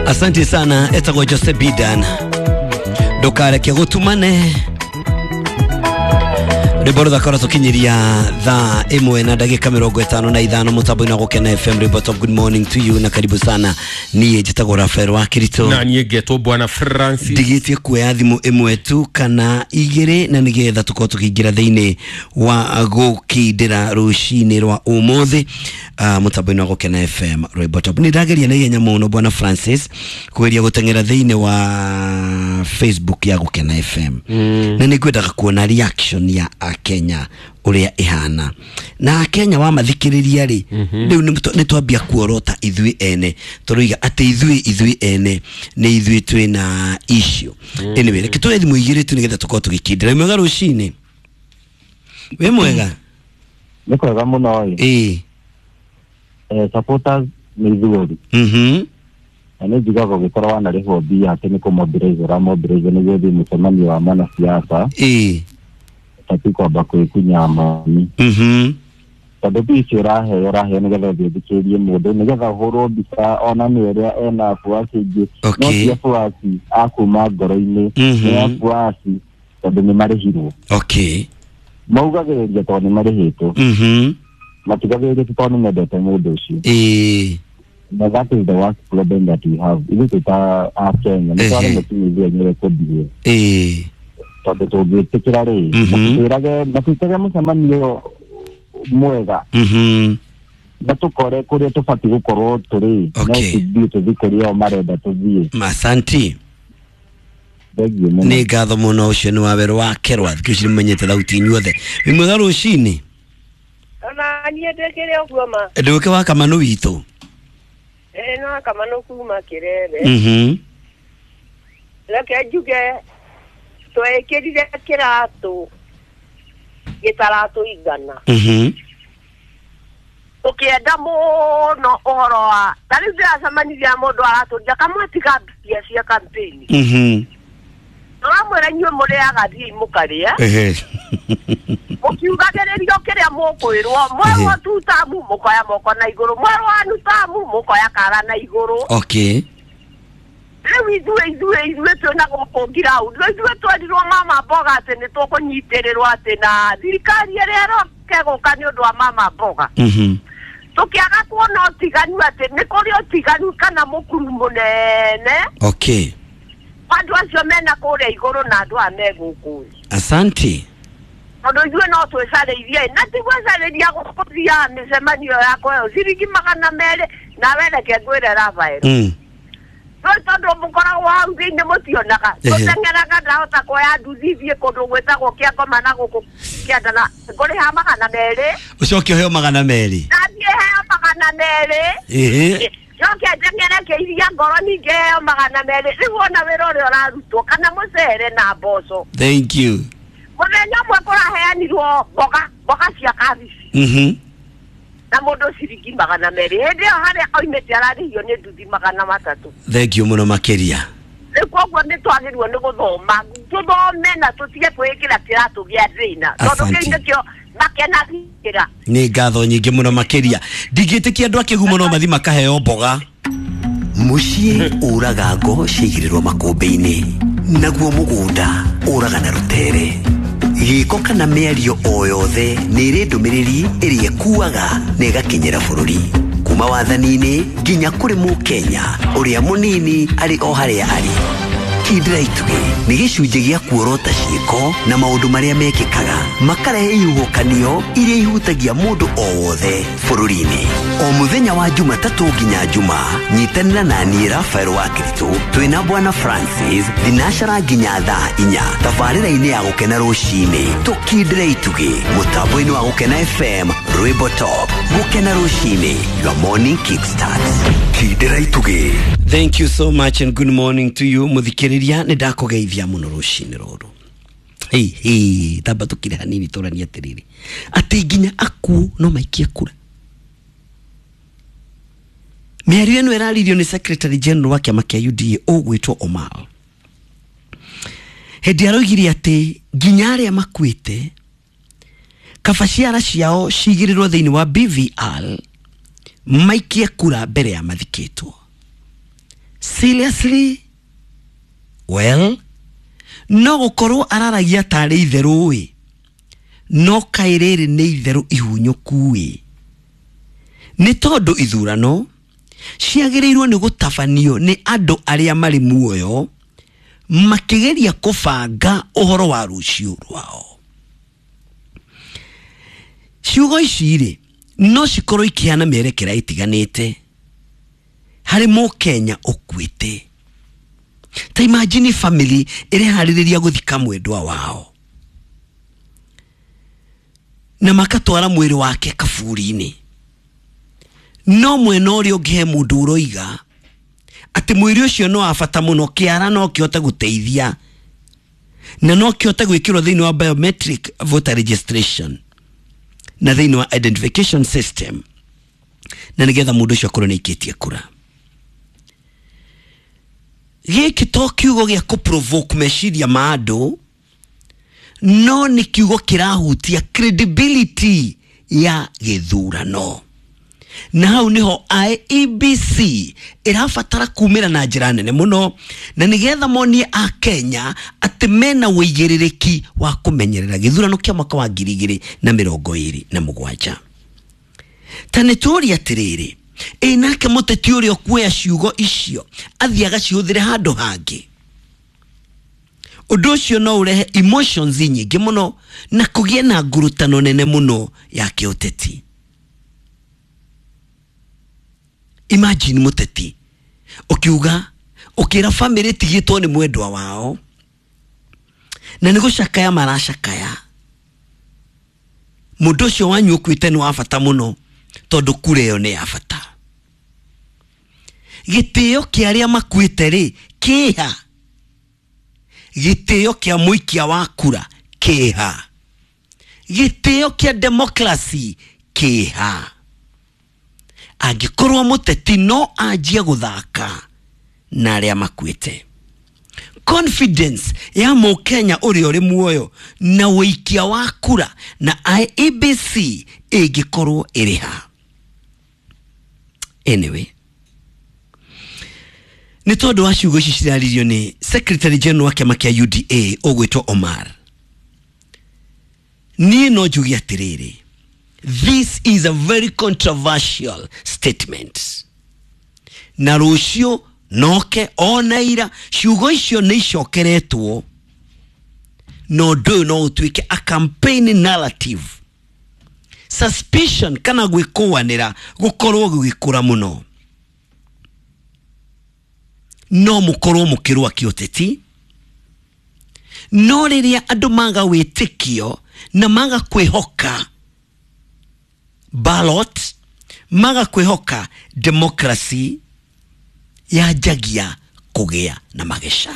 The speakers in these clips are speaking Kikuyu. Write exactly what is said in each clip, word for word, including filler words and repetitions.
Asante sana, etagwo Jose Bidan. Ndukareke gutumane. Rwimbo ruthaka rũtũkinyiria thaa ĩmwe na ndagĩka mĩrongo ĩtano na ithano mũtambo-inĩ wa Gũkena F M. Rwimbo Top, good morning to you na karibu sana. Niĩ njĩtagwo Rafael wa Kirito na niĩ ngetwo Bwana Francis. Ndigĩtie kuoya thimũ ĩmwe tu kana igĩrĩ na nĩgetha tũkorwo tũkĩingĩra thĩinĩ wa gũkindĩra rũcinĩ rwa ũmũthĩ uh, mũtambo-inĩ wa Gũkena F M. Rwimbo Top. Nĩ ndageria na ihenya mũno Bwana Francis kũgeria gũteng'era thĩinĩ wa Facebook ya Gũkena F M. Mm. Na nĩngwendaga kuona reaction ya Kenya uria ihana na Kenya wa mathikiriria ri riu ni twambia kuorota ithui ene turoiga ati ithui ithui ene ni ithui twina issue. Anyway, reke tuoe thimu igiri tu nigetha tukorwo tugikindira. Mwega rucini? Wi mwega? Ni kwega muno. Eh, eh supporters ni ithuori. Mhm. Na nĩ njugaga ũgĩkorwo wanarĩhwo mbia atĩ nĩ kũmobilize ũramobilize nĩguo ũthiĩ mũcemanio wa mwanasiasa. Eh. Tati kwamba kwĩkunya mami. Mhm. Tondũ mbia icio ũraheo ũraheo nĩgetha ũthiĩ ũthikĩrĩrie mũndũ nĩgetha ũhũrwo mbica onanie ũrĩa ena abuasi aingĩ. No ti abuasi a kuma ngoro-inĩ, nĩ abuasi tondũ nĩ marĩhirwo. Okay. Maugagĩrĩria tondũ nĩ marĩhĩtwo. Mhm. Matigagĩrĩria tondũ nĩ mendete mũndũ ũcio. Eh. Now that is the worst problem that we have. Ithuĩ twĩ ta a Kenya nĩ twaremwo kinya ithuĩ enyewe kũbehave. Eh. Tondũ tũngĩtĩkĩra rĩ, matwĩrage matwĩkage mũcemanio mwega na tũkore kũrĩa tũbatiĩ gũkorwo tũrĩ, no tũthiĩ tũthiĩ kũrĩa o marenda tũthiĩ. Asanti. Thengiũ mũno. Nĩ ngatho mũno. Ũcio nĩ wa werũ wa Kerwa. Thikũ ici nĩmenyete thauti inyuothe. Wĩ mwega rũcinĩ? Ona niĩ ndĩkĩrĩ ũguo ma. Ndũke wa Kamanũ witũ. Eh, no Kamanũ kuma Kĩrere. Mhm. Reke njuge twekĩrire kĩratũ gĩtaratũigana. Mhm. Ũkĩenda mũno ũhoro wa ta rĩu ndĩracemanirie na mũndũ aratũria kamwatiga mbia cia campaign. Mhm. Tũramwĩra inyuĩ mũrĩaga thiĩi mũkarĩe. Ehe. Mũkiugagĩrĩrio kĩrĩa mũkwĩrwo, mwerwo tu tamu mũkoya moko na igũrũ, mwerwo anu tamu mũkoya kara na igũrũ. Okay. Rĩu ithuĩ ithuĩ ithuĩ twĩna gũkũ ground, rĩu ithuĩ twerirwo mama mboga atĩ nĩ tũkũnyitĩrĩrwo atĩ na thirikari ĩrĩa ĩroka ĩgũka nĩ ũndũ wa mama mboga. Mhm. Tũkĩaga kuona ũtiganu atĩ nĩ kũrĩ ũtiganu kana mũkuru mũnene. Okay. Andũ acio mena kũrĩa igũrũ na andũ aya me gũkũ. Asante. Tondũ ithuĩ no twĩcarĩirie na ti gwĩcarĩria gũthiaga mĩcemanio yakwa ĩyo ciringi magana merĩ nawe reke ngwĩre Rafael. Mm. No tondũ mũkoragwo hau thĩinĩ mũtionaga. Tũteng'eraga ndahota kuoya nduthi thiĩ kũndũ gwĩtagwo Kĩangoma na gũkũ Kĩanda na ngũrĩha magana merĩ. Ũcoke ũheo magana merĩ. Nathiĩ heo magana merĩ. Ĩhĩ. Njoke njeng'ere kĩiria ngoro ningĩ heo magana merĩ. Rĩu wona wĩra ũrĩa ũrarutwo kana mũcere na mboco. Thank you. Mũthenya ũmwe kũraheanirwo mboga mboga cia kabici. Mhm. Na mũndũ ciringi magana merĩ. Hĩndĩ ĩyo harĩa oimĩte ararĩhio nĩ nduthi magana matatũ. Thank you mũno makĩria. Rĩu koguo nĩ twagĩrĩirwo nĩ gũthoma tũthome na tũtige kwĩĩkĩra kĩratũ gĩa thĩna tondũ kĩu nĩkĩo makenagĩra. Nĩ ngatho nyingĩ mũno makĩria. Ndingĩtĩkia andũ a Kĩgumo no mathiĩ makaheo mboga. Mũciĩ ũraga ngo ciaigĩrĩrwo makũmbĩ-inĩ, naguo mũgũnda ũraga na rũtere. Gĩko kana mĩario o yothe nĩ ĩrĩ ndũmĩrĩri ĩrĩa ĩkuaga na ĩgakinyĩra bũrũri kuma wathani-inĩ nginya kũrĩ mũkenya ũrĩa mũnini arĩ o harĩa arĩ. Kindĩra itugĩ nĩ gĩcunjĩ gĩa kuorota ciĩko na maũndũ marĩa mekĩkaga makarehe ihuhũkanio iria ihutagia mũndũ o wothe bũrũri-inĩ. O mũthenya wa Jumatatũ nginya Juma, nyitanĩra na niĩ Rafael wa Kirito twĩna Bwana Francis thinacara nginya thaa inya tabarĩra-inĩ ya Gũkena rũcinĩ. Tũkindĩre itugĩ mũtambo-inĩ wa Gũkena F M. Rwimbo Top. Gũkena rũcinĩ, your morning kickstart. Kindĩra itugĩ. Thank you so much and good morning to you. Muthikiriria nĩ ndakũgeithia mũno rũcinĩ rũrũ. Hey, hey, tamba tũkire hanini tũranie atĩrĩrĩ atĩ nginya akuũ no maikie kura. Mĩario ĩno ĩraririo nĩ Secretary General wa kĩama kĩa U D A ũgwĩtwo Omar. Hĩndĩ aroigire atĩ nginya arĩa makuĩte kaba ciara ciao cigĩrĩrwo thĩinĩ wa B V R maikie kura mbere ya mathikĩtwo. Seriously? Well, no gũkorwo araragia tarĩ itherũ ĩ, no kaĩ rĩrĩ nĩ itherũ ihunyũku ĩ, nĩ tondũ ithurano ciagĩrĩirwo nĩ gũtabanio nĩ andũ arĩa marĩ muoyo makĩgeria kũbanga ũhoro wa rũciũ rwao. Ciugo ici rĩ no cikorwo ikĩhana mĩerekera ĩtiganĩte harĩ mũkenya ũkuĩte. Ta imagine family ĩreharĩrĩria gũthika mwendwa wao na makatwara mwĩrĩ wake kaburi-inĩ, no mwena ũrĩa ũngĩ he mũndũ ũroiga atĩ mwĩrĩ ũcio no wa bata mũno, kĩara no kĩhote gũteithia na no kĩhote gwĩkĩrwo thĩinĩ wa biometric voter registration na thĩinĩ wa identification system, na nĩgetha mũndũ ũcio akorwo nĩ aikĩtie kura. Gĩkĩ to kiugo gĩa kũ-provoke meciria ma andũ, no nĩ kiugo kĩrahutia credibility ya gĩthurano. Na hau niho I E B C ĩrabatara kumĩra na njĩra nene mũno, na nĩgetha monie a Kenya atĩ mena ũigĩrĩrĩki wa kũmenyerera gĩthurano kĩa mwaka wa ngiri igĩrĩ na mĩrongo ĩrĩ na mũgwanja. Ta nĩ tũrie atĩrĩrĩ, ĩ nake mũteti ũrĩa ũkuoya ciugo icio athiĩ agacihũthĩre handũ hangĩ, ũndũ ũcio no ũrehe emotions nyingĩ mũno na kũgĩe na ngurutano nene mũno ya kĩũteti. Imagine mũteti ũkiuga ũkĩra family tigĩtwo nĩ mwendwa wao na nĩ gũcakaya maracakaya, mũndũ ũcio wanyu ũkuĩte nĩ wa bata mũno tondũ kura ĩyo nĩ ya bata. Gĩtĩo kĩa arĩa makuĩte rĩ kĩha? Gĩtĩo kĩa mũikia wa kura kĩha? Gĩtĩo kĩa democracy kĩha? Angĩkorwo mũteti no anjie gũthaka na arĩa makuĩte, confidence ya mũkenya ũrĩa ũrĩ muoyo na ũikia wa kura na I E B C ĩngĩkorwo ĩrĩ ha? Anyway, nĩ tondũ wa ciugo ici ciraririo nĩ Secretary General wa kĩama kĩa U D A ũgwĩtwo Omar, niĩ no njuge atĩrĩrĩ, this is a very controversial statement. Na rũciũ noke ona ira ciugo icio nĩ icokeretwo, no ũndũ ũyũ no ũtuĩke a campaign narrative. Suspicion kana gwĩkũanĩra gũkorwo gũgĩkũra mũno, no mũkorwo mũkĩrũa kĩũteti, no rĩrĩa andũ maga wĩtĩkio na maga kwĩhoka ballot, maga kwĩhoka democracy, yanjagia kũgĩa na mageca.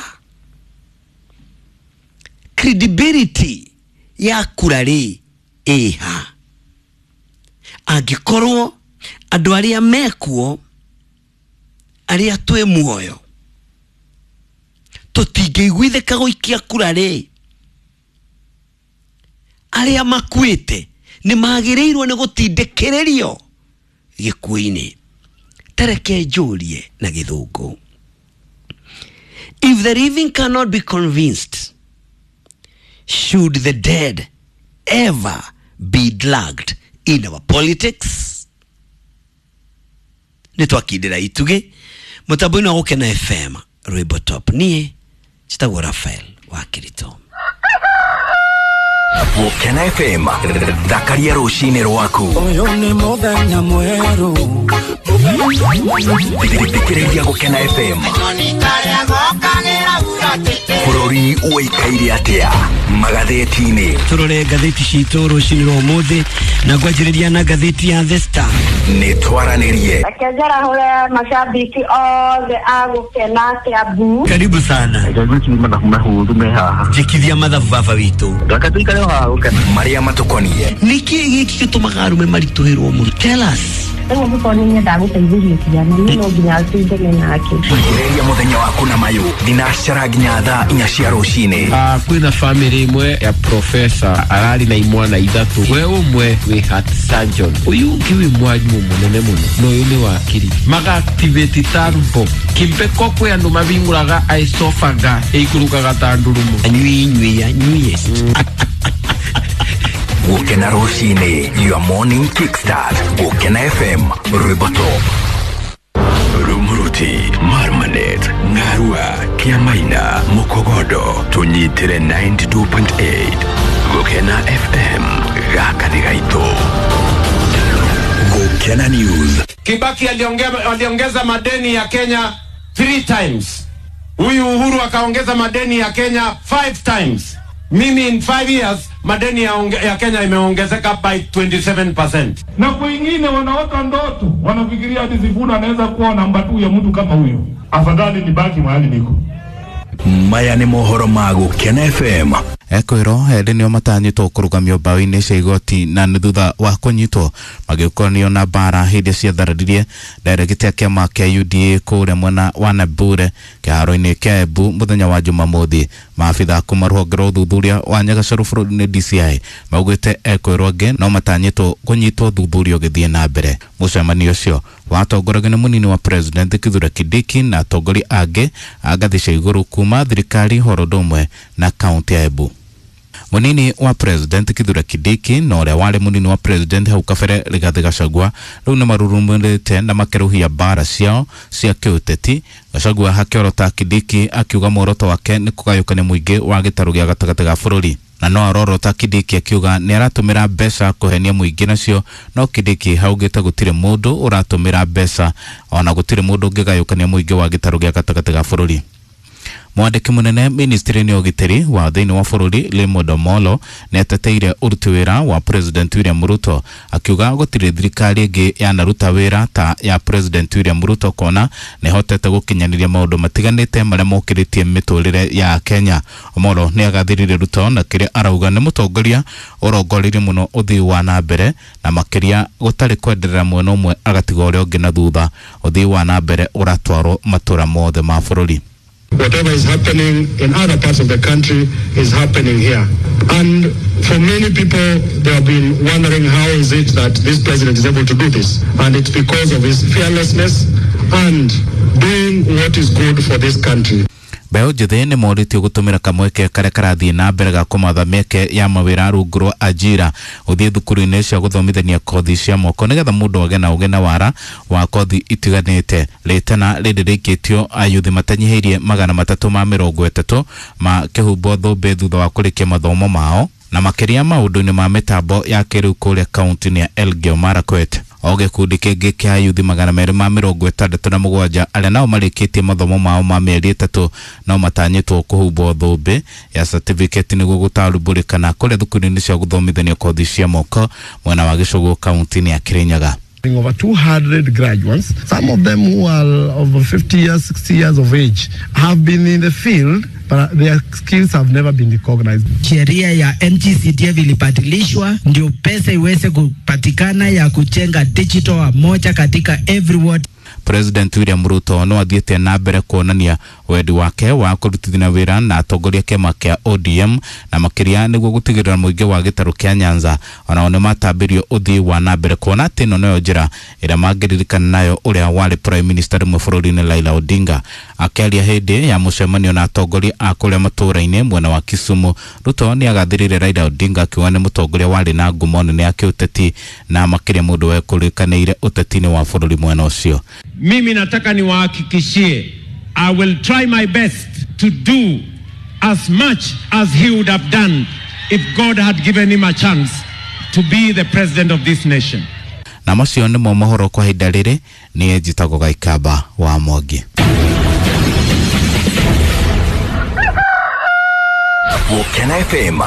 Credibility ya kura rĩ ĩha? Angĩkorwo andũ arĩa mekuo, arĩa twĩ muoyo, tũtingĩiguithĩka gũikia kura rĩ, arĩa makuĩte nĩ magĩrĩirwo nĩ gũtindĩkĩrĩrio gĩkuũ-inĩ. Tareke njũrie na gĩthũngũ, if the living cannot be convinced, should the dead ever be dragged in our politics? Nĩ twakindĩra itugĩ mũtambo-inĩ wa Gũkena F M rwĩmbo top. Niĩ njĩtagwo Raphael wa Kirito. Gũkena F M, thakaria rũcinĩ rwaku. Ũyũ nĩ mũthenya mwerũ. Thikĩrĩria Gũkena F M. Bũrũri ũikaire atĩa magathĩti-inĩ? Tũrore ngathĩti citũ rũcinĩ rwa ũmũthĩ na ngwanjĩrĩria na ngathĩti ya The Star. Nĩ twaranĩrie. Reke njarahũre mashabiki othe a Gũkena Kiambu. Karibu sana. Reke ngwĩcirie mathabu mahũthũ me haha. Njĩkithia mathabu baba witũ. Reke tũikare o haha Gũkena. Marĩa matũkoniĩ. Nĩkĩ gĩkĩ gĩtũmaga arũme maritũhĩrwo mũno? Tell us. Rĩu angĩkorwo nĩ nyendaga gũteithĩria ciana, niĩ no nginya tindane nake. Ambĩrĩria mũthenya waku na mayũ thinacara nginya thaa inya cia rũcinĩ. Uh, kwĩna family ĩmwe ya professor ararĩ na imwana ithatũ, we ũmwe wĩ heart surgeon, ũyũ ũngĩ wĩ mwarimũ mũnene mũno na ũyũ nĩ wakiri. Maga activate turbo kimbeko kwĩ andũ mabingũraga esophagus ĩikũrũkaga ta ndurumo. Anyui nyui anyuiest. Gũkena rũcinĩ, your morning kickstart. Gũkena F M, rwĩmbo top. Rumuruti, Marmanet, Ngarua, Kiamaina, Mukogodo, tunyitire ninety-two point eight. Gũkena F M, gaka nĩ gaitũ. Gũkena News. Kibaki aliongeza madeni ya Kenya three times. Huyu Uhuru akaongeza madeni ya Kenya five times. Mimi in five years madeni ya, ya Kenya imeongezeka by twenty-seven percent. Na kwingine wanaota ndoto, wanafikiria ati Sifuna anaweza kuwa namba two ya mtu kama huyo. Afadhali nibaki mahali niko. Maya ni mohoro ma Gũkena F M. Ekwĩrwo erĩ nĩo matanyĩtwo kũrũgamio mbaũ-inĩ cia igoti na nĩ thutha wa kũnyitwo magĩũkanio na mbara hĩndĩ ciathararirie ndairegiti ya kĩama kĩa U D A kũrĩa mwena wa Nambure kĩharo-inĩ kĩa Embu mũthenya wa Jumamothi. Maabitha kuma rũhonge rwa ũthuthuria wa Nyagacaru bũrũri-inĩ D C I maugĩte ekwĩrwo angĩ no matanyĩtwo kũnyitwo ũthuthuria ũgĩthiĩ na mbere. Mũcemanio ũcio watongoragio nĩ mũnini wa President Kithure Kindiki na atongoria angĩ a ngathĩ cia igũrũ kuma thirikari horo ũndũ ũmwe na kaunti ya Embu. Munini wa President Kithure Kindiki na ũrĩa warĩ munini wa President hau kabere Rigathi Gachagua rĩu nĩ marurumũrĩte na makerũhia mbara ciao cia kĩũteti. Gachagua hakĩorota Kindiki akiuga muoroto wake nĩ kũgayũkania mũingĩ wa gĩtarũ gĩa gatagatĩ ga bũrũri, na no arorota Kindiki akiuga nĩ aratũmĩra mbeca kũhenia mũingĩ nacio, no Kindiki haugĩte gũtirĩ mũndũ ũratũmĩra mbeca ona gũtirĩ mũndũ ũngĩgayũkania mũingĩ wa gĩtarũ gĩa gatagatĩ ga bũrũri. Mwandĩki mũnene ministry-inĩ ya ũgitĩri wa thĩinĩ wa bũrũri Raymond Omolo nĩ ateteire ũruti wĩra wa President William Ruto akiuga gũtirĩ thirikari ĩngĩ yanaruta wĩra ta ya President William Ruto kona nĩ hotete gũkinyanĩria maũndũ matiganĩte marĩa mokĩrĩtie mĩtũrĩre ya Kenya. Omolo nĩ agathĩrĩire Ruto na kĩrĩa arauga nĩ mũtongoria ũrongoreirie mũno ũthii wa na mbere na makĩria gũtarĩ kwenderera mwena ũmwe agatiga ũrĩa ũngĩ na thutha. Ũthii wa na mbere ũratwarwo matũra mothe ma bũrũri. Whatever is happening in other parts of the country is happening here. And for many people, they have been wondering how is it that this president is able to do this. And it's because of his fearlessness and doing what is good for this country. Mbeũ njĩthĩ nĩ morĩtio gũtũmĩra kamweke karĩa karathiĩ na mbere ga kũmatha mĩeke ya mawĩra rungu rwa ajira gũthiĩ thukuru-inĩ cia gũthomithania kothi cia moko nĩgetha mũndũ agĩe na ũgĩ na wara wa kothi itiganĩte. Rĩtana rĩrĩ rĩikĩtio ayuthi matanyihĩirie magana matatũ ma mĩrongo ĩtatũ makĩhumbwo thũmbĩ thutha wa kũrĩkia mathomo mao na makĩria maũndũ-inĩ ma mĩtambo ya kĩrĩu kũrĩa kaunti-inĩ ya Elgeyo Marakwet. O gĩkundi kĩngĩ kĩa ayuthi magana merĩ ma mĩrongo ĩtandatũ na mũgwanja arĩa nao marĩkĩtie mathomo mao ma mĩeri ĩtatũ no matanyĩtwo kũhumbwo thũmbĩ ya certificate nĩguo gũtarubũrĩkana kũrĩa thukuru-inĩ cia gũthomithania kothi cia moko mwena wa Gĩcũgũ kaunti-inĩ ya Kirinyaga. Over two hundred graduates, some of them who are over fifty years, sixty years of age, have been in the field, but their skills have never been recognized. Sheria ya N G C D F ilibadilishwa ndio pesa iweze kupatikana ya kujenga digital moja katika every ward. President William Ruto no athiĩte na mbere kuonania wendi wake wa kũrutithania wĩra na atongoria kĩama kĩa O D M na makĩria nĩguo gũtigĩrĩra mũingĩ wa gĩtarũ kĩa Nyanza onao nĩmatambĩrio ũthii wa na mbere kuona atĩ ĩno nĩyo njĩra ĩrĩa mangĩririkana nayo ũrĩa warĩ Prime Minister rĩmwe bũrũri-inĩ Raila Odinga. Akĩaria hĩndĩ ya mũcemanio na atongoria a kũrĩa matũũra-inĩ mwena wa Kisumu, Ruto nĩagathĩrĩire Raila Odinga akiuga nĩ mũtongoria warĩ na ngumo nene ya kĩũteti na makĩria mũndũ wekũrĩkanĩire ũteti-inĩ wa bũrũri mwena ũcio. Mimi nataka niwahakikishie, I will try my best to do as much as he would have done if God had given him a chance to be the president of this nation. Na macio nĩmo mohoro kwa ihinda rĩrĩ. Niĩ njĩtagwo Gaikamba wa Mwangi. Gũkena F M,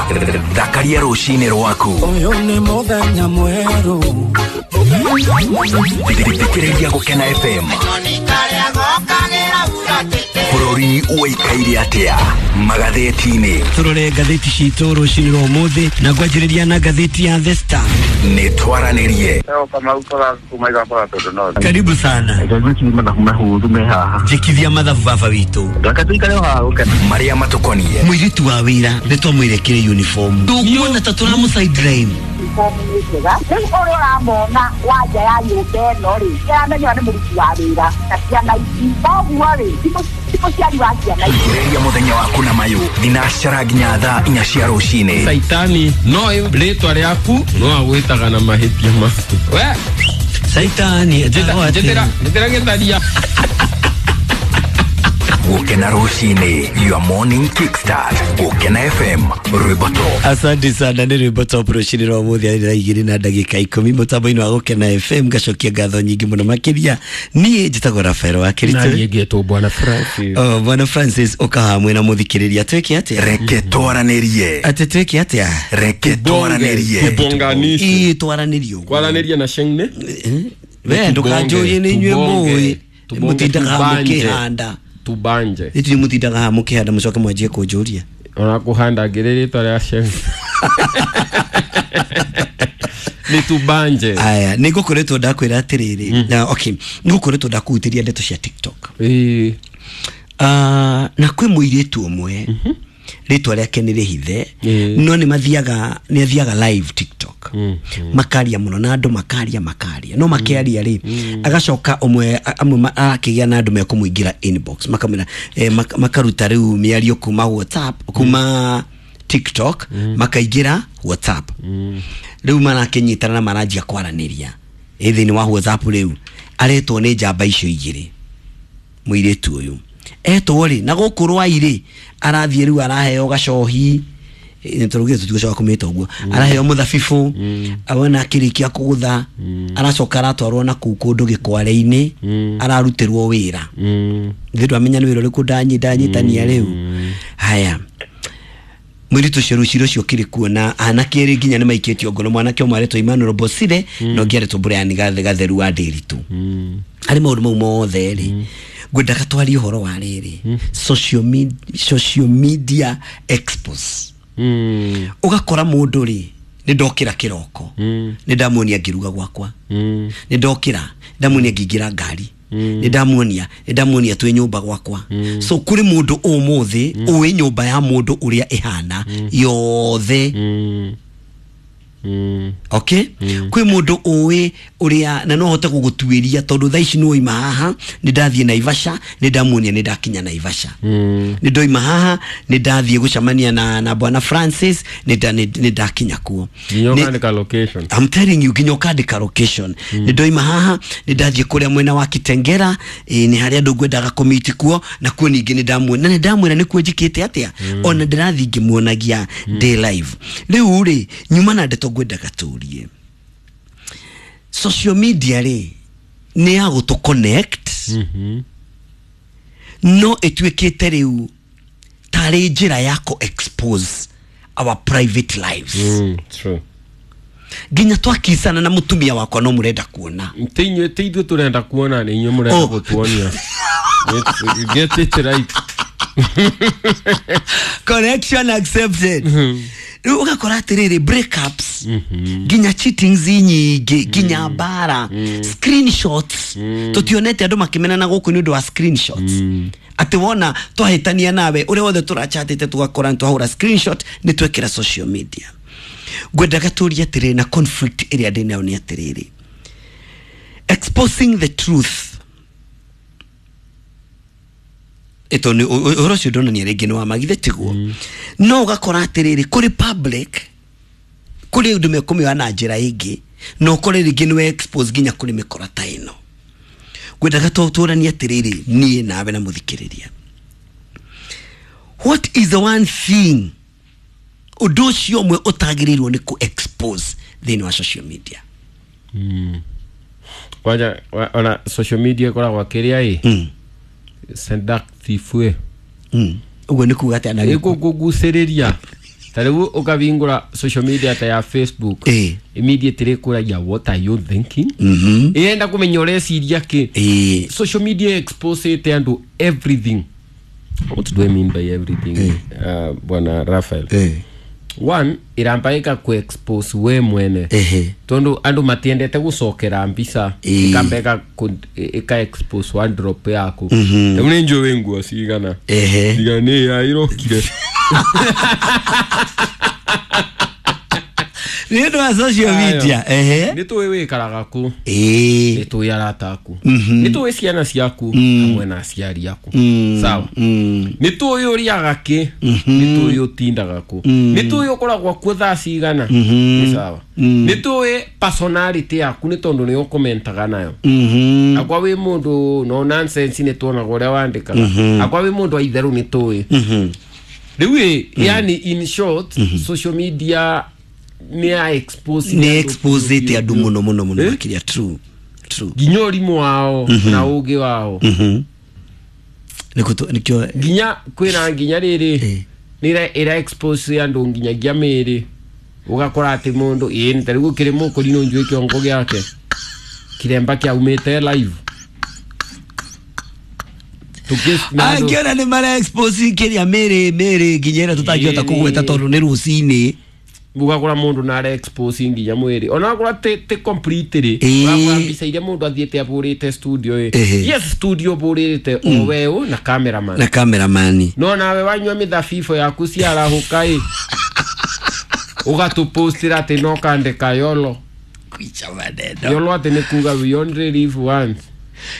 thakaria rũcinĩ rwaku. Ũyũ nĩ mũthenya mwerũ. Thikĩrĩria Gũkena F M. Bũrũri ũikaire atĩa magathĩti-inĩ? Tũrore ngathĩti citũ rũcinĩ rwa ũmũthĩ na ngwanjĩrĩria na ngathĩti ya The Star. Nĩ twaranĩrie. Karibu sana. Njĩkithia mathabu baba witũ. Marĩa matũkoniĩ. Mũirĩtu wa wĩra nĩ twamwĩrekire uniform. Ndũkuona ta tũramũ sideline. Rĩu ũrĩa ũramona wanja ya nyũmba ĩno rĩ, kĩramenywo nĩ mũruti wa wĩra na ciana ici. Koguo rĩ, ti mũciari wa ciana ici. Ambĩrĩria mũthenya waku na mayũ thinacara nginya thaa inya cia rũcinĩ. Saitani no rĩtwa rĩaku no agwĩtaga na mahĩtia maku. We Saitani njĩtĩra njĩtĩra gĩtharia. Gũkena rũcinĩ, your morning kickstart. Gũkena F M, rwĩmbo top. Asante sana nĩ rwĩmbo top rũcinĩ rwa ũmũthĩ arĩ thaa igĩrĩ na ndagĩka ikũmi mũtambo-inĩ wa Gũkena F M. Ngacokia ngatho nyingĩ mũno makĩria. Niĩ njĩtagwo Rafael wa Kĩritũ. Na niĩ ngetwo Bwana Francis. Oh, Bwana Francis ũka hamwe na mũthikĩrĩria. Twĩke atĩa? Reke twaranĩrie. Atĩ twĩke atĩa? Reke twaranĩrie. Tubonganishe. Ĩĩ, twaranĩrie ũguo. Kwaranĩria na Sheng-ne? We ndũkanjũrie nĩ inyuĩ mũĩ. Mũtindaga mũkĩhanda. Tubanje. Ithuĩ mũtindaga haha mũkĩhanda mũcoke mwanjie kũnjũria. Ona kũhanda ngĩrĩ rĩtwa rĩa Sheng. Nĩ tubanje. Aya, nĩ ngũkoretwo ndakwĩra atĩrĩrĩ. Na okay, nĩ ngũkoretwo ndakũhutĩria ndeto cia TikTok. Ĩĩ. Ah, na kwĩ mũirĩtu ũmwe rĩtwa rĩake nĩ rĩhithe, no nĩ mathiaga, nĩ athiaga live TikTok. Makaria mũno na andũ makaria makaria. No makĩaria rĩ, agacoka ũmwe amwe akĩgĩa na andũ mekũmũingĩra inbox, makamwĩra eh, makaruta rĩu mĩario kuma WhatsApp, kuma TikTok, makaingĩra WhatsApp. Rĩu marakĩnyitana na maranjia kwaranĩria. Ĩ thĩinĩ wa WhatsApp rĩu aretwo nĩ njamba icio igĩrĩ. Mũirĩtu ũyũ etwo rĩ, na gũkũ Rwai rĩ, arathiĩ rĩu araheo gacohi, nĩ tũrugire tũtigũcoka kũmĩta ũguo, araheo mũthabibũ, awona akĩrĩkia kũgũtha, aracoka aratwarwo na kũu kũndũ gĩkware-inĩ, ararutĩrwo wĩra. Ithuĩ ndwamenya nĩ wĩra ũrĩkũ ndanyi ndanyitania rĩu. Haya, mũirĩtu ũcio rũciũ rũcio kĩrĩ kuo na anake erĩ nginya nĩ maikĩtio ngono, mwanake ũmwe aretwo Emmanuel Bosire na ũngĩ aretwo Brian Gatheru wa Ndĩritũ. Harĩ maũndũ mau mothe rĩ, ngwendaga twarie ũhoro wa rĩrĩ, social media, social media expose. Ũgakora mũndũ rĩ, nĩ ndokĩra kĩroko, nĩ ndamuonia ngĩruga gwakwa, nĩ ndokĩra ndamuonia ngĩingĩra ngari, nĩ ndamuonia, nĩ ndamuonia twĩ nyũmba gwakwa. So kũrĩ mũndũ ũmũthĩ ũĩ nyũmba ya mũndũ ũrĩa ĩhana yothe. Okay? Kwĩ mũndũ ũĩ ũrĩa na no hote gũgũtuĩria tondũ thaa ici nĩwoima haha, nĩ ndathiĩ Naivasha, nĩ ndamuonia nĩ ndakinya Naivasha. Nĩ ndoima haha, nĩ ndathiĩ gũcemania na na Bwana Francis, nĩ ndakinya kuo. Nginya ũkandĩka location. I'm telling you, nginya ũkandĩka location. Nĩ ndoima haha, nĩ ndathiĩ kũrĩa mwena wa Kitengera, nĩ harĩa andũ ngwendaga kũmiti kuo, na kuo ningĩ nĩ ndamuona, na nĩ ndamwĩra nĩkuo njĩkĩte atĩa. Ona ndĩrathiĩ ngĩmuonagia day live. Rĩu rĩ, nyuma na ndeto ngwendaga tũrie. Social media rĩ, nĩ ya gũtũ connect, no ĩtuĩkĩte rĩu tarĩ njĩra ya kũ expose our private lives. Mm, true. Nginya twakicana na mũtumia wakwa no mũrenda kuona. Ti inyuĩ, ti ithuĩ tũrenda kuona, nĩ inyuĩ mũrenda gũtuonia. Get it right. Connection accepted. Rĩu ũgakora atĩrĩrĩ, breakups, nginya cheatings nyingĩ, nginya mbara, screenshots. Tũtionete andũ makĩmenana gũkũ nĩ ũndũ wa screenshots. Atĩ wona twahĩtania nawe, ũrĩa wothe tũrachatĩte tũgakora nĩ twahũra screenshot, nĩ twekĩra social media. Ngwendaga tũrie atĩrĩrĩ, na conflict ĩrĩa ndĩ nayo nĩ atĩrĩrĩ, exposing the truth. Ĩto nĩ ũhoro ũcio ndonania rĩngĩ nĩ wa magithe tiguo. No ũgakora atĩrĩrĩ, kũrĩ public, kũrĩ ũndũ mekũmĩoya na njĩra ĩngĩ, na ũkore rĩngĩ nĩ we expose nginya kũrĩ mĩkora ta ĩno. Ngwendaga tũranie atĩrĩrĩ, niĩ nawe na mũthikĩrĩria, what is the one thing, ũndũ ũcio ũmwe ũtagĩrĩirwo nĩ kũ expose thĩinĩ wa social media? Kwanja ona social media ĩkoragwo kĩrĩa ĩ seductive. Ũguo nĩ kuga atĩa? Na ĩkũkũgucĩrĩria. Ta rĩu ũkavingũra social media ta ya Facebook, immediately ĩkũragia what are you thinking? Ĩrenda kũmenya ũreciria kĩ. Social media exposete andũ everything. What do I mean by everything? Uh, Bwana Raphael. One iramba ika ku expose we mwene. Ehe. Tondu andu matiendete gucokera mbica ikamba ika ika expose one drop yaku. Riu ni njũĩ wĩ nguo cigana. Ehe. Cigana nĩ ya irokire. Nĩ ũndũ wa social media. Ehe. Nĩ tũĩ wĩikaraga kũ. Ĩĩ. Nĩ tũĩ arata aku. Nĩ tũĩ ciana ciaku hamwe na aciari aku. Sawa. Nĩ tũĩ ũrĩaga kĩ. Nĩ tũĩ ũtindaga kũ. Nĩ tũĩ ũkoragwo kuo thaa cigana. Nĩ sawa. Nĩ tũĩ personality yaku nĩ tondũ nĩ ũkomentaga nayo. Akwa wĩ mũndũ no nonsense nĩ tuonaga ũrĩa wandĩkaga. Akwa wĩ mũndũ wa itherũ nĩ tũĩ. Rĩu ĩ, yani in short, social media ni a expose ni expose te andu muno muno muno makiria. True true. Nginya ũrimũ wao na ũgĩ wao. Nikuto nikio nginya kwĩna nginya rĩrĩ nĩ ira expose andu nginyagia mĩĩrĩ ũgakora atĩ mũndũ ĩĩ nĩ ta rĩu gũkĩrĩ mũkũrinũ njũĩ kĩongo gĩake kiremba kĩaumĩte live. Angĩona nĩ mara expose kĩrĩa mĩĩrĩ mĩĩrĩ nginya ĩrĩa tũtangĩhota kũgweta tondũ nĩ rũcinĩ. Ugakora mundu na ara expose nginya mwiri ona akora te te completely urakora mbica iria mundu athiete aburite studio i yes studio burite o wewe na cameraman na cameraman no nawe wanyua mithabibũ yaku ciarahuka i ugatupostira ati no kandika yolo kwicha maneno yolo ati ni kuga we only live once.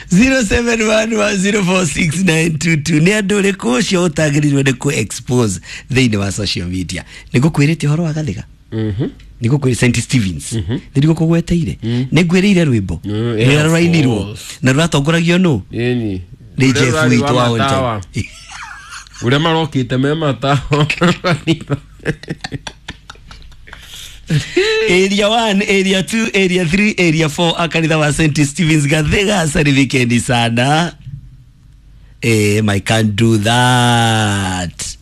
zero seven one one zero four six nine two two nĩ andũ ũrĩkũ ũcio ũtagĩrĩirwo nĩ kũ expose thĩinĩ wa social media. Nĩ ngũkwĩrĩte ũhoro wa Gathiga. Mhm. Nĩ ngũkwĩrĩte Saint Stevens. Nĩ ngũkũgweteire. Nĩ ngwĩrĩire rwĩmbo. Rũrĩa rũrainirwo na rũratongoragio nũ? Ĩni. Nĩ Jeff witũ wa on time. Ũrĩa marokĩte me matawa. Area one, Area two, Area three, Area four akanitha wa Saint Stevens Gathiga sari weekend sana. Eh, I can't do that.